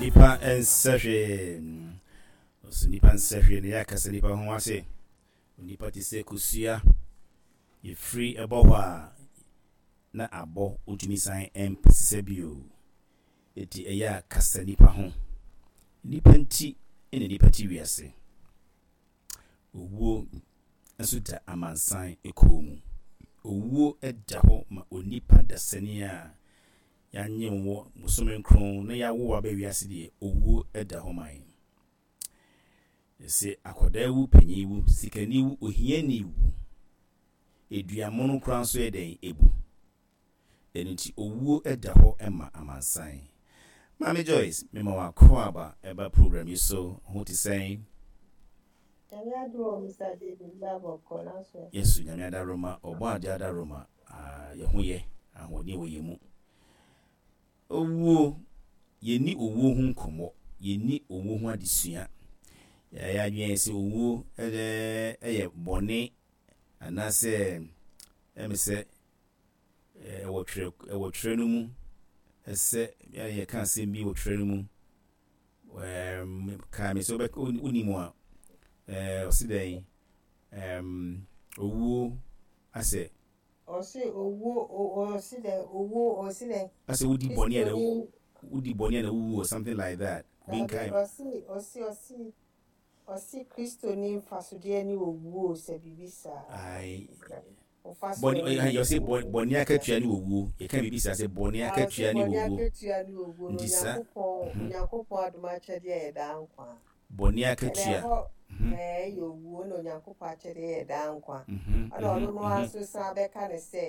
Nipa nsɛ hwee. Ɔsɛ nipa nsɛ hwee na yɛakasa nipa ho ase. Onipa te sɛ kosua. Yɛfiri ɛbɔ hɔ a na abɔ wontumi san mpɛ bio. Enti ɛyɛ a kasa nipa ho. Nipa nti na nipa te wiase. Owuo nso da amansan kɔn mu. Owuo da hɔ ma onipa dasani a yɛanyem wo bosome nkron na yɛawo wo aba wiase deɛ, owuo da hɔ ma yɛn. Yɛse akwadaa wu, panyin wu, sikani wu, ohiani wu. Dua mono koraa nso yɛ dɛn? Ebu. Ɛno nti owuo da hɔ ma amansan. Maame Joyce, mema wo akwaaba ɛba program yi so, ho te sɛn? Nyame adom o Mister David bra bɔkɔ nanso ɛ. Yesu Nyame adaworoma, ɔbɔadeɛ adaworoma, ah yɛ ho yɛ, ahoɔden wɔ yɛn mu. Owuo, yɛnni owuo ho nkɔmmɔ, yɛnni owuo ho adesua. Yɛayɛ adwene ayɛ sɛ owuo yɛ bɔne anaasɛ ɛme sɛ ɛwɔ twerɛ ɛwɔ twerɛ no mu ɛsɛ yɛka asɛm bi wɔ twerɛ no mu ɛɛm kaa me sɛ wobɛ wonim a ɛɛ ɔsi dɛn ɛɛm owuo asɛ. Ɔsi owuo ɔsi dɛn owuo ɔsi dɛn. Asɛ wodi bɔne a na wodi bɔne a na wuwu or something like that. Binkae. Ɔsi ɔsi ɔsi ɔsi Kristoni mfasodeɛ ne owuo sɛ biribi saa. Ayi. Bɔne ɔsi bɔne akatua ne owuo. Yɛka biribi saa sɛ bɔne akatua ne owuo. Bɔne akatua ne owuo no Nti saa. Onyankopɔn Onyankopɔn adom akyɛdeɛ yɛ daa nkwa. Bɔne akatua. Ɛna ɛhɔ ɛyɛ owuo na Onyankopɔn akyɛdeɛ yɛ daa nkwa. Ɛna ɔno no ara nso san bɛka ne sɛ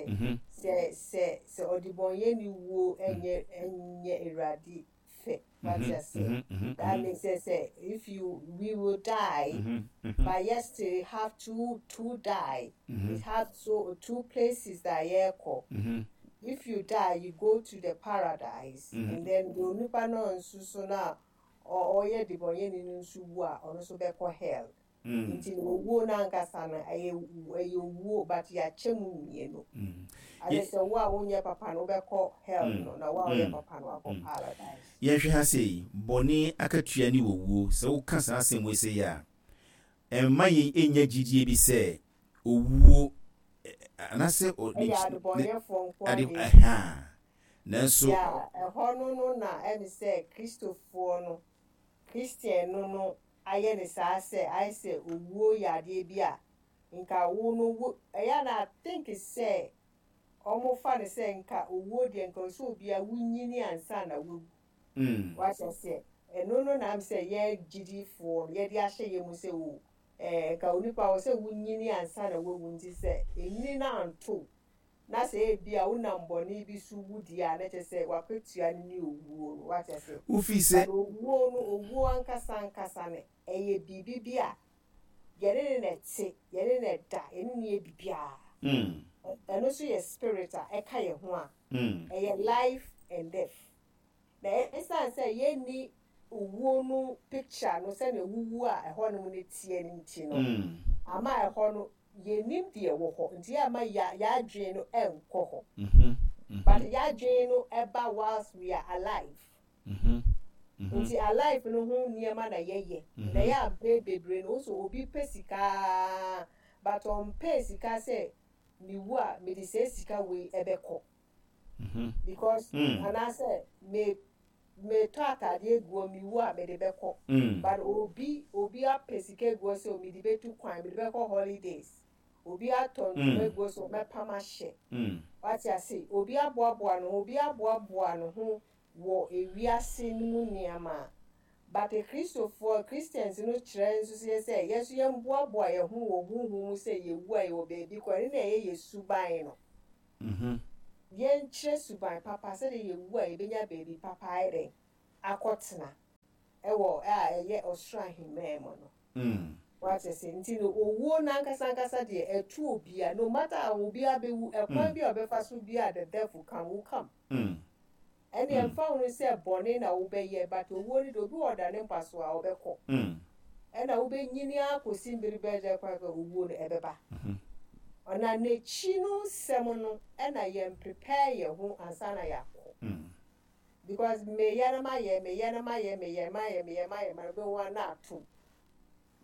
sɛ sɛ sɛ ɔdebɔnyɛni wuo ɛnyɛ ɛnyɛ Awurade fɛ. Wate ase? That means sɛ sɛ if you we will die but yet still have to die. It has so two places that yɛrekɔ. If you die, you go to the paradise and then the onipa no nso so na ɔyɛ debɔnyɛni no nso wu a ɔno nso bɛkɔ hell. Nti no owuo no ankasa no ɛyɛ ɛyɛ owuo but yɛakyɛ mu mmienu. Ayɛ sɛ wo a wonyɛ papa no wobɛkɔ hell no na wo a woyɛ papa no wakɔ paradise. Yɛnhwɛ ha sei, bɔne akatua ne owuo. Sɛ woka saa asɛm wei sei a, ɛmma yɛn nnya gyidie bi sɛ owuo anaasɛ Ɛyɛ adebɔnyɛfoɔ nko ade ara na ɛwu. ɛhaa nanso. Yeah, ɛhɔ no no na ɛne sɛ Kristofoɔ no, Christian no no ayɛ ne saa sɛ ayɛ sɛ owuo yɛ adeɛ bi a nka wo no wo ɛyɛ a na I think sɛ ɔmo fa no sɛ nka owuo deɛ nka ɔsɛ obiara wonyini ansa na wawu. Wate aseɛ? Ɛno no na sɛ yɛn gyidifoɔ no yɛde ahyɛ yɛn mu sɛ o ɛɛ nka onipa wɔ sɛ wonyini ansa na wawu nti sɛ enyini no anto na sɛ ebi a wonam bɔne bi so wu deɛ a na kyerɛ sɛ wakatua no ne owuo no wate aseɛ. Wofi sɛ. But owuo no owuo ankasa ankasa no ɛyɛ biribi bi a yɛne ne na ɛte yɛne ne da yɛne ne yɛ biribiara. Ɛno nso yɛ spirit a ɛka yɛn ho a ɛyɛ life and death. Na ɛsiane sɛ yɛnni owuo no picture no sɛnea wuwu a ɛhɔnom no teɛ no nti no ama ɛhɔ no yɛnim deɛ ɛwɔ hɔ nti yɛ ama yɛadwene no ɛnkɔ hɔ. But yɛadwene no ɛba whilst we are alive. Nti alive no ho nneɛma na yɛyɛ. Na yɛ ampɛ bebree no nso obi pɛ sika but ɔmpɛ sika sɛ mewu a mede sɛ sika wei ɛbɛkɔ. Because anaasɛ me metɔ ataadeɛ gu hɔ mewu a mede bɛkɔ. But obi apɛ sika gu hɔ sɛ mede bɛtu kwan mede bɛkɔ holidays. Obi atɔ ntoma gu hɔ sɛ ɔmɛpam ahyɛ. Wate ase obi aboaboa ne ho obi aboaboa ne ho wɔ ewiase no mu nneɛma a but Kristofoɔ Christians no kyerɛ nso sɛ sɛ yɛn nso yɛn boaboa yɛn ho wɔ huhu mu sɛ yɛwu a yɛwɔ baabi kɔ ɛno na ɛyɛ yɛ suban no. Yɛnkyerɛ suban papa sɛdeɛ yɛwu a yɛbɛnya baabi papa ayɛ dɛn akɔtena ɛwɔ a ɛyɛ ɔsoro ahemman mu no. Wate ase nti no owuo n'ankasa ankasa deɛ ɛto obia no matter how obiara bɛwu ɛkwan bi a ɔbɛfa so bi a the death will come will come. Ɛne ɛmfa ho sɛ bɔne na wobɛyɛ but owuo no deɛ obi wɔ ɔda ne mpa so a ɔbɛkɔ. Ɛna wobɛnyini akɔsi mbere bɛyɛ kwan kɔ owuo no ɛbɛba. Ɔna n'akyi no nsɛm no ɛna yɛn prepare yɛn ho ansa na yɛakɔ. Because meyɛ na mayɛ, meyɛ na mayɛ, meyɛ mayɛ, meyɛ mayɛ, ma wobɛhu a na ato.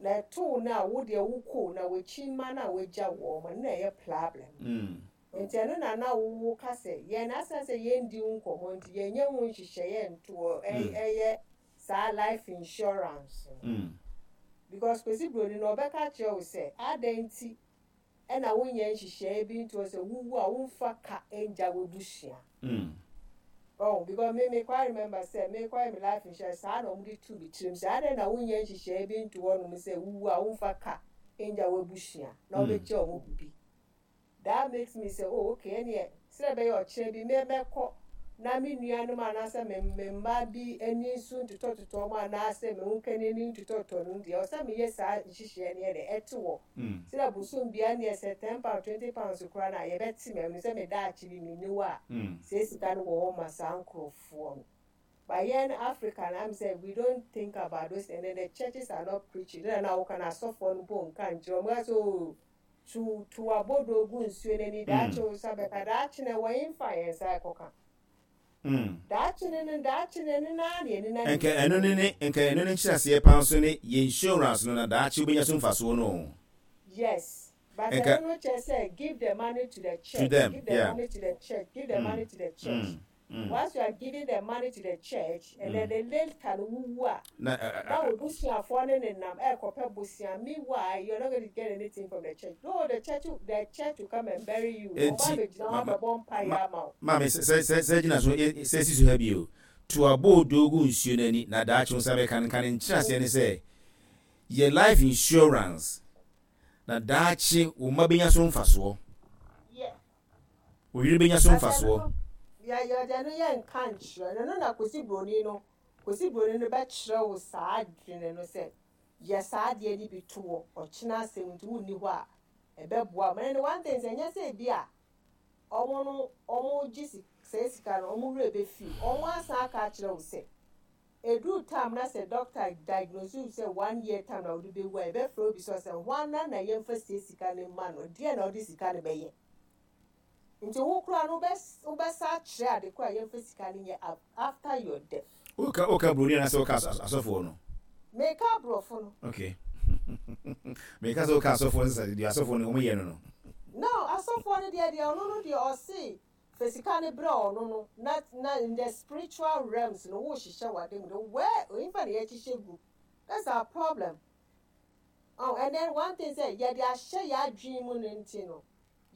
Na ɛtoo no a wo deɛ wokɔ na w'akyi mma no a wagya wɔn no na ɛyɛ problem. Nti ɛno na na wo ka sɛ yɛn asan sɛ yɛndi wo nkɔmmɔ nti yɛnyɛ ho nhyehyɛeɛ ntoɔ ɛyɛ saa life insurance no. Because Kwesi Broni no ɔbɛka akyerɛ wo sɛ adɛn nti ɛna wonyɛ nhyehyɛeɛ bi ntoɔ sɛ wowu a womfa ka ngya w'abusua. Oh, because me me quite remember sɛ me kɔyɛ me life insurance saa na wɔde tuu me tirim sɛ adɛn na wonyɛ nhyehyɛeɛ bi nto hɔnom sɛ wowu a womfa ka ngya w'abusua na wobɛgya wɔn biribi. That makes me sɛ oh okay ɛneɛ sɛdeɛ ɛbɛyɛ ɔkyena bi me mɛkɔ na me nuanom anaasɛ me me mma bi ani nso ntotɔtotɔ wɔn anaasɛ me ho kani ani ntotɔtotɔ no deɛ ɛwɔ sɛ meyɛ saa nhyehyɛeɛ no yɛ dɛ ɛte hɔ sɛdeɛ bosom biara neɛ sɛ £10 £20 koraa no a yɛbɛte me ɛno sɛ me daakye bi menni hɔ a saa sika no wɔ hɔ ma saa nkorɔfoɔ no. But yɛn Africa no am sɛ we don't think about those and then the churches are not preaching ɛna na woka no asɔfoɔ no mpo nka nkyerɛ wɔn ka sɛ oh Tu tu w'abodoo gu nsuo no ani, daakye wo nsa bɛka, daakye no ɛwɔ hefa a yɛn nsa rekɔka? Daakye no no, daakye no ɛno no ara na yɛn ani Nka ɛno ne ne, nka ɛno ne nkyerɛaseɛ paa nso ne yɛ insurance no na daakye wobɛnya so mfasoɔ no o. Yes, but Nka. ɛno no kyerɛ sɛ give the money to the To church, them, give the yeah. money to the church, give the money to the church. Once you are giving the money to the church and then the later no wo wu a, Na na wo busuafoɔ ne nenam ɛrekɔpɛ bosea meanwhile you are not going to get anything from the church though the church the church will come and bury you wɔn Enti abɛgyina hɔ ma ma abɛbɔ mpaeɛ ma ama wo. maame sɛ sɛ sɛ sɛ gyina so ɛ sɛ si so ha bio to aboodoo gu nsuo no ani na daakye wo nsa bɛka no nka ne nkyerɛaseɛ ne sɛ yɛ life insurance na daakye wo mma bɛnya so mfasoɔ. Yeah. Wo yere bɛnya so But ɛno mfasoɔ. no yɛ yɛ ɛno yɛ nka nkyerɛ no ɛno na Kwesi Broni no Kwesi Broni no bɛkyerɛ wo saa adwene no sɛ yɛ saa adeɛ no bi to hɔ ɔkyena asɛm nti wonni hɔ a ɛbɛboa wo. But ɛno one thing sɛ ɛnyɛ sɛ ebi a wɔn no wɔn gye si saa sika no wɔn werɛ bɛfi wo wɔn asan aka akyerɛ wo sɛ ɛduru time na sɛ doctor diagnose wo sɛ one year time na wode bɛwu a yɛbɛfrɛ wo bisa wo sɛ hwana na yɛmfa sie sika no mma no deɛn na wode sika no bɛyɛ. Nti wo koraa no wobɛsa akyerɛ ade koro a yɛmfa sika no nyɛ after your death. Woka woka broni anaasɛ woka asɔfoɔ no? Meka aborɔfo no. Okay. Meka sɛ woka asɔfoɔ no sɛ deɛ asɔfoɔ no wɔn yɛ no no. No, asɔfoɔ no deɛ deɛ ɔno no deɛ ɔse fa sika no brɛ ɔno no na na in the spiritual realms no wohyehyɛ w'ade mu de where onyimfa na yɛhyehyɛ gu that's our problem. Oh, and then one thing sɛ yɛde ahyɛ yɛadwene mu no nti no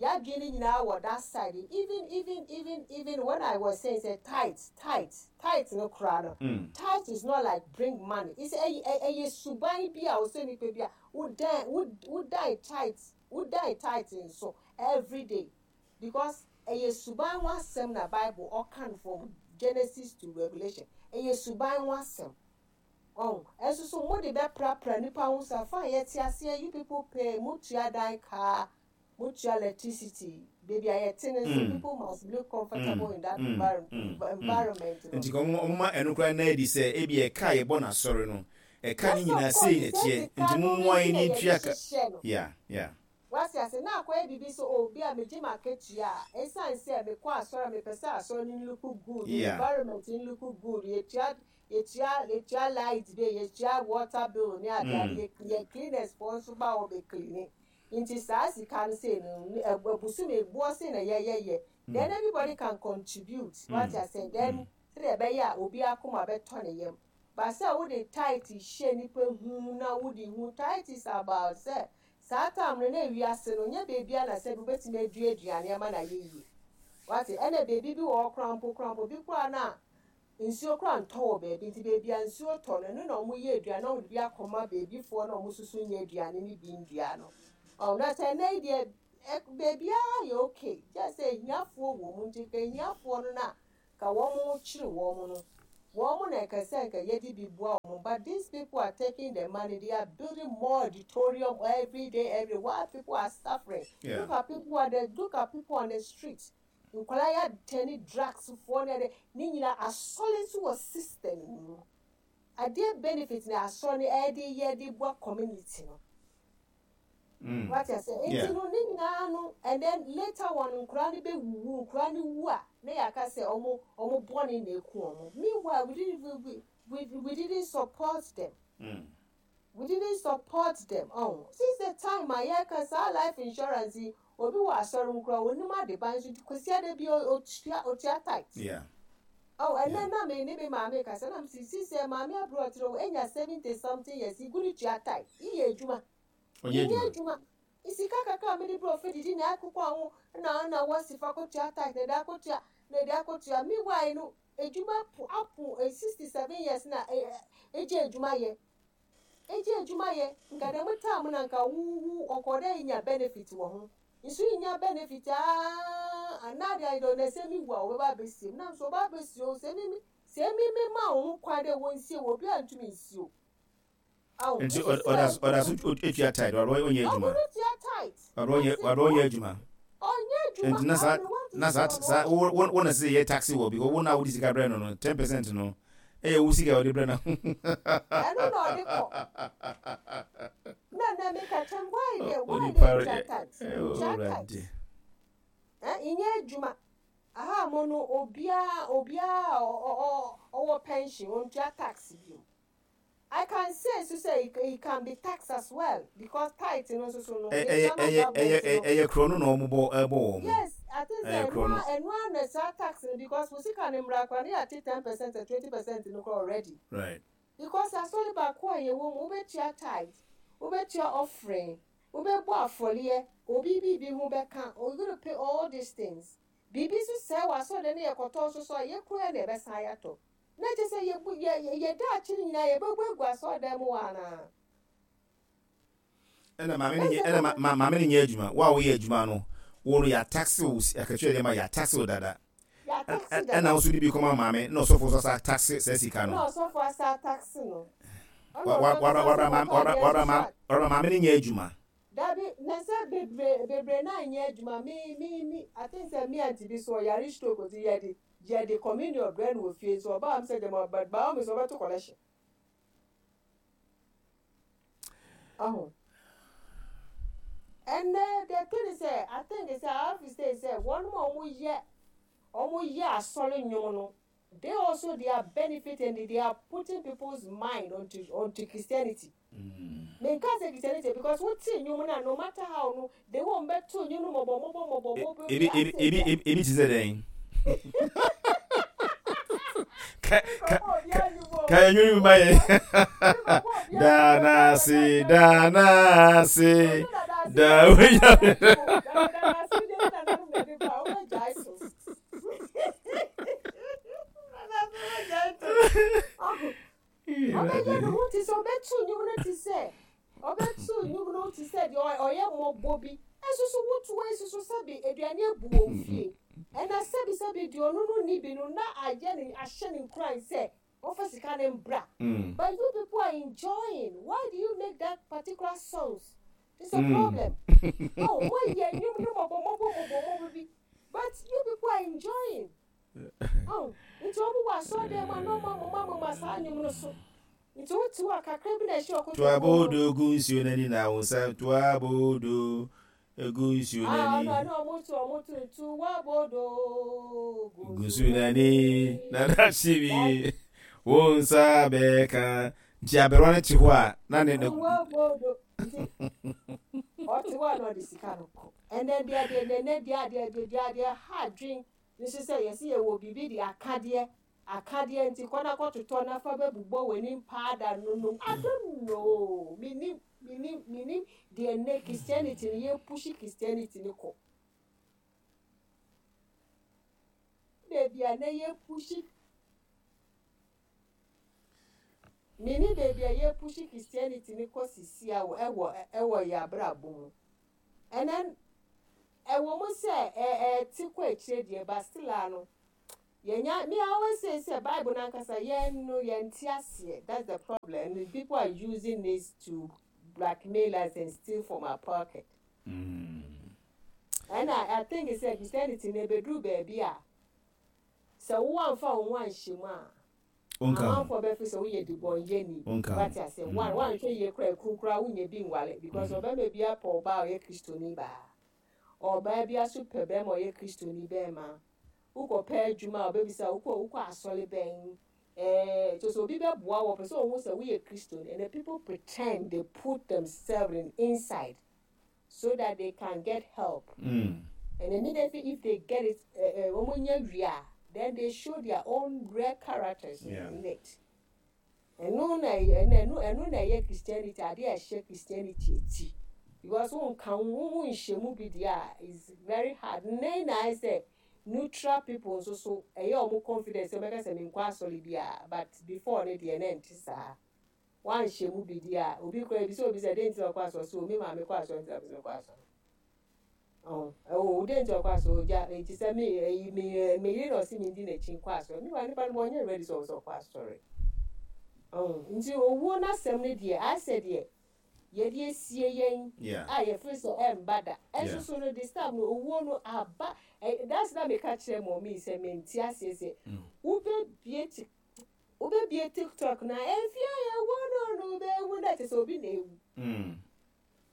Y'adwene no nyinaa wɔ that side even even even even when I was saying sɛ tithe tithe tithe no koraa no tithe is not like bring money it's ɛyɛ ɛyɛ suban bi a ɔsɛ nipa bi a wodan wodan tithe wodan tithe nso everyday because ɛyɛ suban ho asɛm na bible ɔka no from Genesis to Revelation ɛyɛ suban ho asɛm. Wahu? Ɛnso so mode bɛprapra nnipa ho saa, fine, yɛte aseɛ, you people pay, motua dan kaa, motua electricity, baabi a yɛte no nso, people must look comfortable in that environment no. Nti ka wɔn ma ɛno koraa nna adi sɛ ebia ɛka a yɛbɔ no asɔre no, ɛka no Yes, of nyinaa course, sei na sɛ ɛteɛ, sika nti no mommoa nti yɛn na na yɛde yɛntua ka. hyehyɛ no. Yeah, yeah. Wate ase? Na akɔyɛ biribi sɛ, oh, bi a megye m'akatua a, esiane sɛ mekɔ asɔre a, mepɛ sɛ asɔre no look good, environment no look good, yɛtua, yɛtua, yɛtua light bill, yɛtua water bill ne ade ade, yɛ, yɛ cleaners foɔ nso ba hɔ bɛ clean. Nti saa sika no sei no, bosome boɔ sei na yɛyɛyɛ. Then everybody can contribute, wate ase? Then sɛdeɛ ɛbɛyɛ a obiara akoma bɛtɔ ne yam. But sɛ wode tithe hyɛ nnipa hu na wode hu, tithe is about sɛ Saa tam no na wiase no nyɛ baabiara na sɛbi wobɛtumi adua aduane ama no ayɛ yie. Wate? Ɛna baabi bi wɔ hɔ koraa mpo koraa mpo, bi koraa no a nsuo koraa ntɔ wɔ baabi, nti baabi a nsuo tɔ no, ɛno na wɔyɛ aduane na wɔde bi akɔma baabifoɔ na wɔn nso so nyɛ aduane no bi ndua no. Ɔho, na sɛ ɛnnɛ yi deɛ, ɛ, baabiara yɛ okay, gyɛ sɛ ahiafoɔ wɔ mu, nti nka ahiafoɔ no na Ka wɔn kyere wɔn no wɔn na ɛkɛ sɛ nka yɛde bi boa wɔn but these people are taking the money they are building more auditorium everyday every while people are suffering yeah. Look at people are the look at people on the street nkwadaa yɛ atɛne drugs foɔ ne ɛde ne nyinaa asɔre nso wɔ system mu adeɛ benefit na asɔre no ɛde yɛ de boa community no. Wate aseɛ? Nti no ne nyinaa no and then later on nkoraa no bɛwuwu, nkoraa no wu a na yɛaka sɛ ɔmo ɔmo bɔne na ɛku ɔmo. Meanwhile we didn't we we we didn't support them. We didn't support them ɔho. Since the time a yɛka saa life insurance yi, obi wɔ asɔre mu koraa onim adeban nso Kwasiada bi otua otua tithe. Yeah. Oh, ɛnɛ na me ne me maame kasa na msi si sɛ maame abere ɔkyerɛ wo enya 70 something years igu ne tua tithe. Iyɛ adwuma. Ɔnyɛ Nyɛ adwuma. Sika kakra a mede brɛ ofi didi na akokɔ ho na na wɔsi fa kɔtua tithe na de akɔtua na de akɔtua. Meanwhile no adwuma po apo 67 years na egye adwuma yɛ. Egye adwuma yɛ. Nka dɛm time na nka wo wo ɔkɔ dɛ nya benefit wɔ ho. Nso nya benefit aa anaa de ayɛ na sɛ mi wu a wɔbɛba abɛsie mu. Na nso wɔba abɛsie o sɛ mi sɛ mi mi ma wo ho kwan dɛ wɔnsie wɔ obi a ntumi nsie o. Nti ɔda so tua tithe ɔdɔ ɔnyɛ adwuma. Ɔdɔ ɔnyɛ adwuma. Nti na saa na saa saa wo wo wo na sɛ yɛ tax wɔ because wo na wode sika brɛ no no 10% no ɛyɛ wo sika ɔde brɛ no. Ɛno na ɔde kɔ. Na na mi ka kyɛm why de why de tua tithe tua tithe. Ɛ nyɛ adwuma. Aha mo no obiara obiara ɔwɔ pension ontua tax bio. I can say nso sɛ it can be taxed as well because tithe no nso so no Ɛyɛ yɛtua ma ɛyɛ government ɛyɛ no. ɛyɛ korɔ no na wɔn bɔ ɛbɔ wɔn. Yes, I think sɛ Ɛyɛ ɛno korɔ no. ara ɛno ara na saa tax no because wo sika no mmra koraa na yɛate 10% and 20% no koraa already. Right. Because asɔre baako a yɛwɔ mu wobɛtua tithe, wobɛtua offering, wobɛbɔ afɔreɛ, obi biribi ho bɛka, you gonna pay all these things. Biribi nso sɛe wɔ asɔredan no yɛkɔtɔ nso so a yɛkura na yɛbɛsan ayɛatɔ. Na kyerɛ sɛ yɛbu yɛ yɛ daakye no nyinaa yɛbɛbu agu asɔredan mu hɔ anaa? Ɛna maame no nyɛ ɛna ma ma maame no nyɛ adwuma. Wo a woyɛ adwuma no, wo no yɛataxe wo akatua deɛ ma yɛataxe wo dada. Yɛataxe dada. Ɛna wo nso de bi kɔma maame na ɔsɔfo nso asa ataxe saa sika no. Na ɔsɔfo asa ataxe no. Ɛna Wa wa ɔno wa ankasa wa nso ma kɔtɔ wa adeɛ wa nso ma so a. wa maame no nyɛ adwuma. Dabi, na sɛ bebree bebree no anyɛ adwuma me me me I think sɛ me aunty bi so ɔyare stroke nti yɛde Yɛde communion brɛ no wɔ fie nso ɔba a mesɛ gyama but by all means ɔbɛto collection. Aho. Ɛnɛ the thing is sɛ I think sɛ I have to say sɛ wɔn a wɔn yɛ wɔn yɛ asɔre nnwom no they also they are benefiting and they are putting people's mind onto onto Christianity. Menka sɛ Christianity because wo te nnwom no a no matter how no the way wɔn bɛto nnwom no mɔbɔ mɔbɔ mɔbɔ mɔbɔ bi asɛ ebi bia. ebi ebi te sɛ dɛn? Ka ka ka ka yɛ nnwom ma yɛ. Danase danase da wonya. Ɔbɛyɛ ne ho te sɛ ɔbɛto nnwom no te sɛ ɔbɛto nnwom no te sɛ deɛ ɔyɛ mmɔbɔ bi. Nso so woto nso so sɛbi aduane abu wɔ fie. Ɛna sɛbi sɛbi deɛ ɔno no nni bi no na ayɛ ne ahyɛ ne nkuran sɛ ɔmfa sika no mbra. But you people are enjoying. Why do you make that particular songs? It's a problem. Oh, moayɛ nnwom no mmɔbɔ mmɔbɔ mmɔbɔ mmɔbɔ bi. But you people are enjoying. Oh, nti ɔmo wɔ asɔɔdan mu a na ɔmo amoma amoma saa nnwom no so. Nti wote hɔ a kakra bi na ɛhyɛ ɔkoto To abodo gu nsuo n'ani na wo nsa to abodo gu nsuo Ah, n'ani. ɔno ɛna ɔmo to ɔmo to to abodo gu nsuo n'ani na n'ahye bi wo nsa bɛka. Nti aberewa no te hɔ a na ne ne. To abodo nti ɔte hɔ a na ɔde sika no kɔ. Ɛnɛ deɛ deɛ nɛnɛ deɛ adeɛ deɛ deɛ adeɛ ha adwen. Nso sɛ yɛse yɛwɔ biribi de akadeɛ, akadeɛ nti kɔ na kɔtotɔ na fa bɛbobɔ w'anim paada no nom. I don't know, mennim, mennim, mennim deɛ nnɛ Christianity no yɛpushi Christianity no kɔ. Baabi a nnɛ yɛpushi, mennim baabi a yɛpushi Christianity no kɔ sisi a ɛwɔ, ɛwɔ yɛn abrabɔ mu. And then ɛwɔ mu sɛ ɛte kɔ akyire deɛ but still a no yɛnya me I always say sɛ Bible no ankasa yɛn no yɛnte aseɛ, that's the problem, and people are using this to blackmail us and steal from our pocket. Ɛna I think sɛ Christianity no ɛbɛduru baabi a sɛ wo amfa wo ho anhyɛ mu a. Wonka ho. Amanfoɔ bɛfeel sɛ woyɛ debɔnyɛni. Wonka ho. Wate aseɛ? One, woanhwɛ yie koraa a, ekunu koraa wonnya bi nware because ɔbarima biara pɛ ɔbaa a ɔyɛ Kristoni baa. Ɔbaa biara nso pɛ barima a ɔyɛ Kristoni barima. Wokɔpɛ adwuma a, ɔbɛbisa wo, wokɔ wokɔ asɔre bɛn? Ɛɛ, kyerɛ sɛ obi bɛboa wo, ɔpɛ sɛ ɔhu sɛ woyɛ Kristoni. And the people pretend, they put themselves in inside so that they can get help. And immediately if they get it, eh, eh, wɔn nya wie a, then they show their own real characters in it. Ɛno na ɛyɛ, ɛno, ɛno, ɛno na ɛyɛ Christianity, adeɛ a ɛhyɛ Christianity akyi. Because wonka wo ho, wonhyɛ mu bi deɛ a, it's very hard. Nnɛ yi na ayɛ sɛ neutral people nso so, ɛyɛ wɔn confidence sɛ wɔbɛka sɛ menkɔ asɔre biara, but before no deɛ na ɛnte saa. Woanhyɛ mu bi deɛ a, obi koraa ebisa obi sɛ dɛn nti na ɔkɔ asɔre, ɔse o me maame kɔ asɔre nti na mepɛ sɛ mekɔ asɔre. Ɔho, oh, dɛn nti ɔkɔ asɔre? Ogya, enti sɛ me, ɛyi, me, me yere na ɔse mendi n'akyi nkɔ asɔre. Meanwhile, nipa no ɔnyɛ ready sɛ ɔwɔ sɛ ɔkɔ asɔre. Ɔho, nti owuo no asɛm no deɛ, ayɛ sɛ deɛ yɛde asie yɛn a yɛfiri sɛ ɛmba da. Ɛnso so no, this time no, owuo no aba. Ɛ, that's na meka kyerɛ mɔmii sɛ mente aseɛ sɛ wobɛbie ti, wobɛbie TikTok na ɛmfie a yɛwɔ no no bɛwu na kyerɛ sɛ obi na ewu.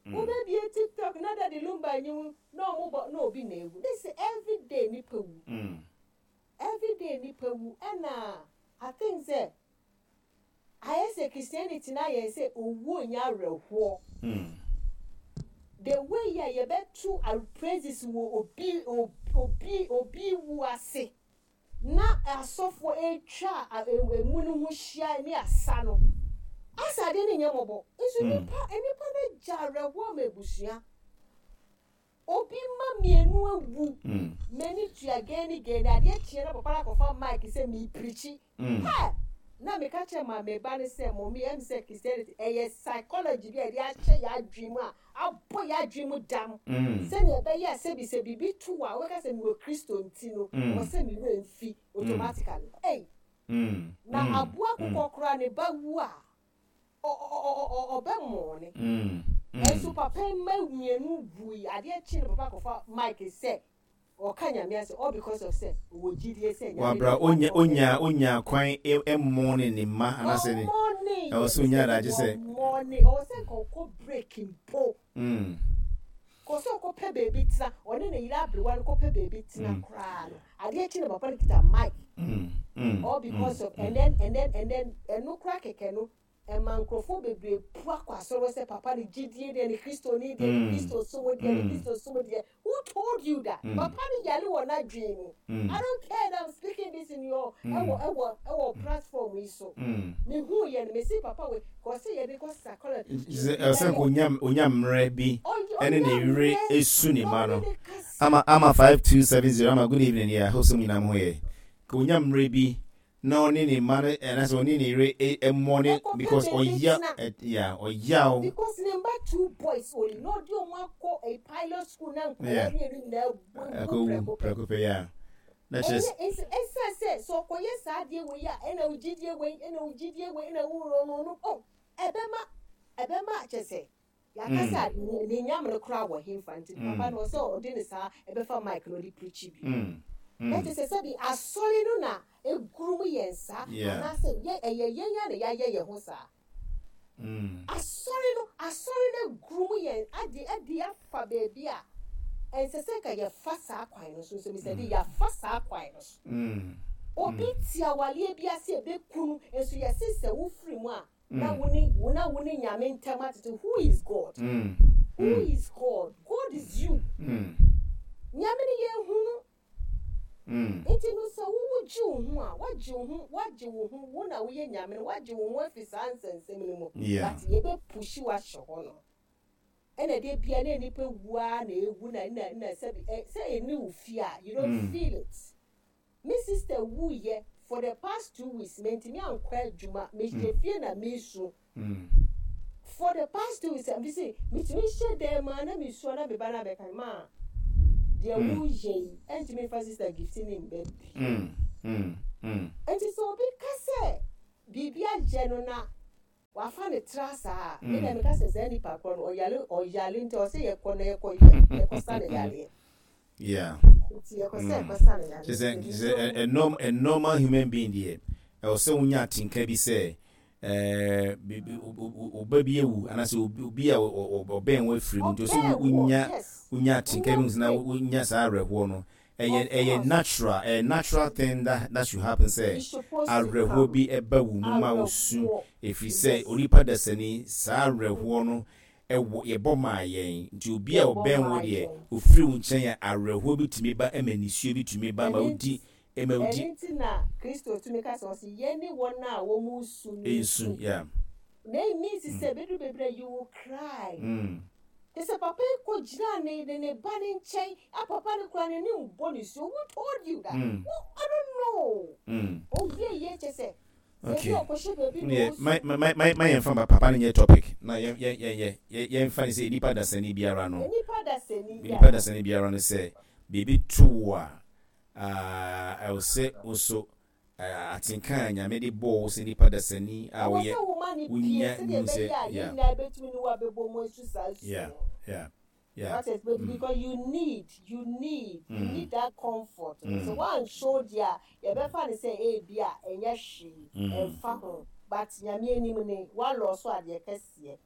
Wobɛbie tiktok na daddy lumba nyi wo na ɔmo bɔ na obi na ewu ne se everyday nipa wu everyday nipa wu ɛna I think sɛ ayɛ sɛ Christianity no ayɛ sɛ owuo nyɛ awerɛhoɔ the way a yɛbɛto praises wɔ obi obi obi wu ase na asɔfoɔ retwa emu no ho hyia ne asa no, asɛ adeɛ no nyɛ mmɔbɔ. Nso nnipa, nnipa no agya awerɛhoɔ ama abusua. Obi mma mmienu awu, m'ani tua gɛɛni gɛɛni, adeɛ kyeɛ na papa no akɔfa mic sɛ mereprikyi. Hɛ! Na meka kyerɛ ma me ba no sɛ, Mummy, ɛm sɛ Christianity, ɛyɛ psychology bi a yɛde ahyɛ yɛn adwene mu a abɔ yɛn adwene mu dam sɛnea ɛbɛyɛ a sɛbi sɛ biribi to wo a, wobɛka sɛ mewɔ Kristo nti no, ɛwɔ sɛ me werɛ mfi automatically. Ei! Na aboa akokɔ koraa ne ba wu a, ɔbɛmɔɔne. Nanso papa yi mma mmienu wui, adeɛ kye no papa akɔfa mic sɛ Ɔka Nyame asɛm all because of sɛ ɔwɔ gyidie sɛ Nyame Wabra bɛma onya no onya onya kwan mmɔne ne mma anaasɛ ne Ɔmmɔne ɛwɔ yɛ sɛ onya sɛ adagye sɛ. wɔmmɔne ɔwɔ sɛ nka ɔkɔ break mpo kɔ sɛ ɔkɔ pɛ baabi tena ɔne ne yere aberewa no kɔ pɛ baabi tena koraa no adeɛ kye na papa no kita mic all because of and then and then and then ɛno koraa kɛkɛ no Ɛma nkurɔfoɔ bebree pu akɔ asɔre hɔ sɛ papa no gyidie deɛ ne Kristoni deɛ ne Kristo som deɛ ne Kristo som deɛ. Who told you that? Papa no yare wɔ n'adwene mu. I don't care that I'm speaking this in your ɛwɔ ɛwɔ ɛwɔ platform yi so. Mehuu yɛ no mesi papa wei kɔ sɛ yɛde kɔ psychology. Sɛ ɛsɛ nka onya onya mmerɛ bi ɛne ne yere esu ne ma no. Ama ama 5270 ama good evening yeah hope sɛ mo nyinaa mo ho yɛ. Ka onya mmerɛ bi na ɔne ne mma no anaasɛ ɔne ne yere mmɔ ne because ɔya yeah ɔyaw. Because ne mma two boys only na ɔde wɔn akɔ a pilot school na nkwadaa mmienu nyinaa awu prɛko pɛ. Prɛko pɛ yeah na kyerɛ sɛ. Ɛnyɛ ɛsan sɛ sɛ ɔkɔyɛ saa adeɛ wei a ɛna wo gyidie wei ɛna wo gyidie wei ɛna wo no no oh ɛbɛma ɛbɛma kyerɛ sɛ. Yɛaka sɛ a ne nyam no koraa wɔ henfa nti papa no ɔsɛ ɔde ne saa ɛbɛfa mic na ɔde preachi bio. Na kyerɛ sɛ sɛbi asɔre no na ɛgurum yɛn saa anaasɛ yɛ ɛyɛ yɛn a na yɛayɛ yɛn ho saa. Asɔre no asɔre no agurum yɛn ade adi afa baabi a ɛnsɛ sɛ nka yɛfa saa kwan no so nso Mister D yɛafa saa kwan no so. Obi te awaleɛ bi ase ɛbɛku no nso yɛse sɛ wofiri mu a Na wo ne wo na wo ne Nyame ntam atete who is God who is God God is you Nyame no yɛn hu no nti no sɛ wo wo gye wo ho a wagye wo ho wagye wo ho wo na woyɛ Nyame no wagye wo ho afi saa nsɛnsɛm no mu but yɛbɛ pushi wo ahyɛ hɔ no ɛna de bia na nipa wu ara na ewu na na na sɛbi sɛ ɛni wo fie a you don't feel it. Me sister wuiɛ for the past 2 weeks mantumi ankɔ adwuma mehyɛ fie na mesu for the past 2 weeks mese metumi hyɛ dan mu a na mesu a na me ba no abɛka maa deɛ woyɛ yi ɛntumi mfa sister gift ne mba bi nti sɛ obi ka sɛ biribi ayɛ no na wafa ne tra saa a me deɛ meka sɛ saa nipa korɔ no ɔyare ɔyare nti ɔsɛ yɛkɔ na yɛkɔ yɛkɔ sa ne yareɛ. Yeah. Nti yɛkɔ sɛ yɛkɔ sa ne yareɛ. Kyɛ sɛ a normal human being deɛ. Ɛwɔ sɛ wonya atenka bi sɛ ɛɛ wo ba bi awu anaasɛ obi a ɔbɛn wo afiri mu nti ɔsɛ wonya wonya atenka bi na wonya saa awerɛhoɔ no. Ɛyɛ natural, ɛyɛ natural thing that should happen sɛ awerɛhoɔ bi ɛba wo mu ma wo su, ɛfiri sɛ onipa dasani saa awerɛhoɔ no ɛwɔ yɛbɔ maa yɛn. Nti obi a ɔbɛn wo deɛ ofiri wo nkyɛn a, awerɛhoɔ bi tumi ba, ɛma nisuo bi tumi ba ma wodi ɛma wodi. Ɛno nti na Kristo tumi ka sɛ, ɔse yɛne wɔn a wɔn resu no nsu. Yeah. Na it means sɛ bɛduru baabi na you will cry. Te sɛ papa yi kɔ gyinaa ne ba ne nkyɛn a papa no koraa n'ani mbɔ ne suo. Who told you that? Who, I don't know. Owie yɛ kyɛ sɛ Okay. Yeah, my my yɛmfa papa no nyɛ topic na yɛn yɛn yɛn yɛ yɛmfa ne sɛ nipa dasani biara no, nipa dasani biara no, sɛ biribi to wo a, ɛwɔ sɛ wo so atenka a Nyame de bɔɔ wo sɛ nipa dasani a woyɛ, wonya hu sɛ yeah. That is, but because you need that comfort. So one show there, yɛbɛfa ne sɛ ebi a ɛnyɛ hwee, ɛmfa ho. But Nyame anim ne walɔ so adeɛ kɛseɛ.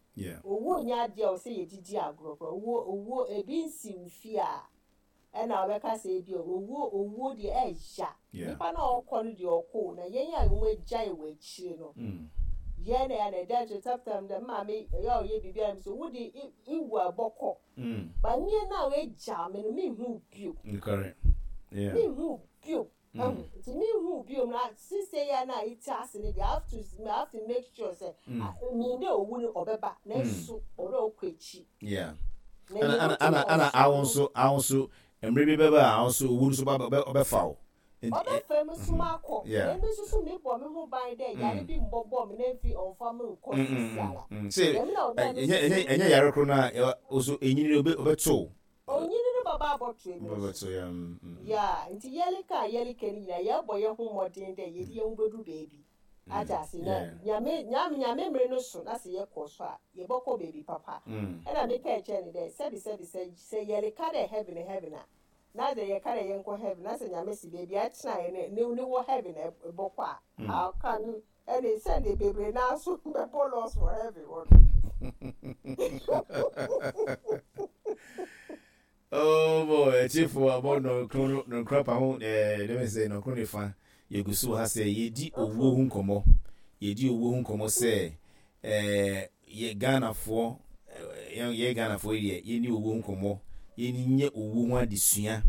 Owuo nyɛ adeɛ a ɔsɛ yɛdidi agorɔ korɔ. Owuo ebi nsi wo fie a, ɛna ɔbɛka sɛ ebi owuo deɛ ɛya. Nipa na ɔkɔ no deɛ ɔkɔ, na yɛn a wɔn agyae wɔ akyire no, yɛn na yɛn na ɛda nkyɛn tap dɛ maame ɛyɛ a ɔyɛ biribi a so wode iwu a ɛbɔkɔ. Ba nyɛ na wagya me no, menhu bio. Menhu bio. Nti menhu bio na sise ya na iti ase ne deɛ, I have to make sure sɛ mean dɛ owu no ɔbɛba, nanso ɔdɛ ɔkɔ akyi. Yeah. Ana awo nso mmerɛ bi bɛba a awo nso owu nso ba ɔbɛfa wo. Ɔbɛfa mu so akɔ. Na emi nso so mebɔ me ho ban dɛ yare bi mbɔbɔ me na mfi ɔmfa me nkɔ sisi ara. Sɛ ɛnyɛ yare koro no a ɔso ɛnyini no ɔbɛto. Onyini no bɛba abɔto emi nso. Yeah, nti yɛleka a yɛleka no nyinaa, yɛbɔ yɛn ho mmɔden dɛ yɛde yɛn ho bɛduru baabi. Ate ase? Na Nyame mmere no so na sɛ yɛkɔ so a, yɛbɛkɔ baabi papa. Ɛna meka kyerɛ ne dɛ sɛbi sɛbi sɛ yɛleka dɛ heaven heaven a, na sɛ yɛka dɛ yɛnkɔ heaven na sɛ Nyame si baabi a ɛtena yɛ ne wɔ heaven ɛbɔkɔ a, how can ɛne sɛde bebree naa so bɛbɔ loss wɔ heaven hɔ no? Oh boy, akyifo abɔ nɔnkron nɔnkron pa ho dɛm sɛ nɔnkron ne fa yɛgu so wɔ ha sɛ yɛdi owuo ho nkɔmmɔ. Yɛdi owuo ho nkɔmmɔ sɛ yɛ Ghanafoɔ, yɛ Ghanafoɔ yi deɛ, yɛni owuo ho nkɔmmɔ, yɛni nyɛ owuo ho adesua,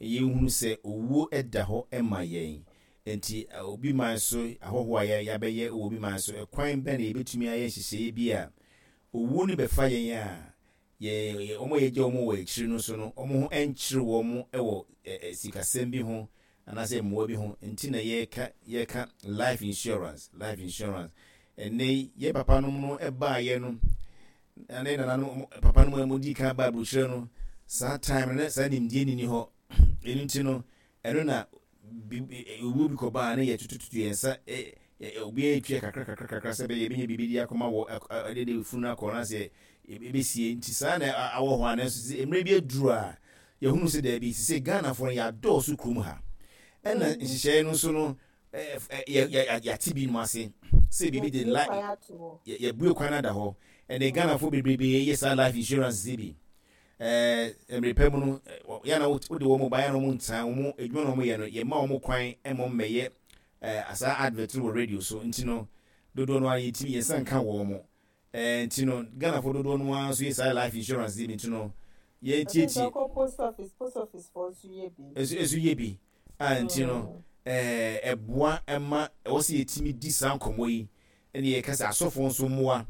yɛhunu sɛ owuo da hɔ ma yɛn. Nti obi man so ahɔhoɔ a yɛabɛyɛ wɔ obi man so, ɛkwan bɛn na yɛbɛtumi ayɛ nhyehyɛeɛ bi a owuo no bɛfa yɛn a yɛ wɔn a yɛgya wɔn wɔ akyiri no so no, wɔn ho nkyere wɔn wɔ sikasɛm bi ho anaasɛ mmoa bi ho? Nti na yɛka life insurance, life insurance. Ɛnɛ yi yɛ papa nom no baayɛ no ne nananom papa nom a wɔdi kan ba aburokyerɛ no, saa time no saa nimdeɛ nni hɔ. Ɛno nti no, ɛno na owuo bi kɔbaa ne yɛtutututu yɛn nsa, obiara tua kakra kakra kakra sɛ bɛyɛ yɛbɛnya biribi de akɔma wɔ ɛde de funu akɔ na sɛ ɛbɛsie. Nti saa na awɔ hɔ a, nanso sɛ mmerɛ bi aduru a yɛhunu sɛ daabi, sɛ Ghanafoɔ no yɛadɔɔso kurom ha, ɛna nhyehyɛeɛ no nso no yɛate binom ase sɛ biribi de yɛbue kwan ada hɔ. Ɛnɛ Ghanafoɔ bebrebe yɛ saa life insurance bi. Mmerɛ pa mu no, yɛna wode wɔn ba, yɛna wɔn ntena wɔn adwuma na wɔn yɛ no, yɛma wɔn kwan ma wɔn mmɛyɛ saa advert no wɔ radio so. Nti no dodoɔ no ara yɛtumi yɛnsa nka wɔn mo. Nti no Ghanafoɔ dodoɔ no ara nso yɛ saa life insurance bi. Nti no yɛntietie. Post office fo nso yɛ bi. Nso yɛ bi a. Nti no ɛboa ɛma ɛwɔ sɛ yɛtumi di saa nkɔmmɔ yi, ɛne yɛka sɛ asɔfoɔ nso mmoa,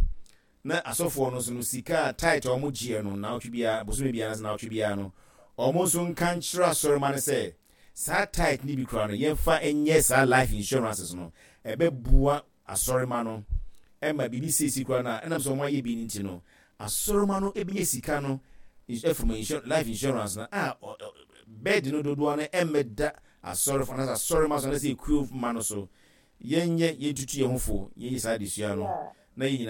na asɔfoɔ no nso no sika a tithe a wɔn gyeɛ no naawɔtwe biara, bosome biara na naawɔtwe biara no, wɔn nso nka nkyerɛ asɔrema no sɛ saa tithe no bi koraa no yɛmfa nyɛ saa life insurances no. Ɛbɛboa asɔrema no ɛma biribi seesi koraa no a, ɛnam sɛ wɔn ayɛ bi no nti no, asɔrema no ebɛnya sika no ɛfiri life insurance no a, bɛɛdi no dodoɔ no ɛmmɛda asɔrefo anaasɛ asɔrema so anaasɛ ekuo ma no so. Yɛnyɛ yɛntutu yɛn ho fo, yɛnyɛ saa adesua no na yɛn nyinaa.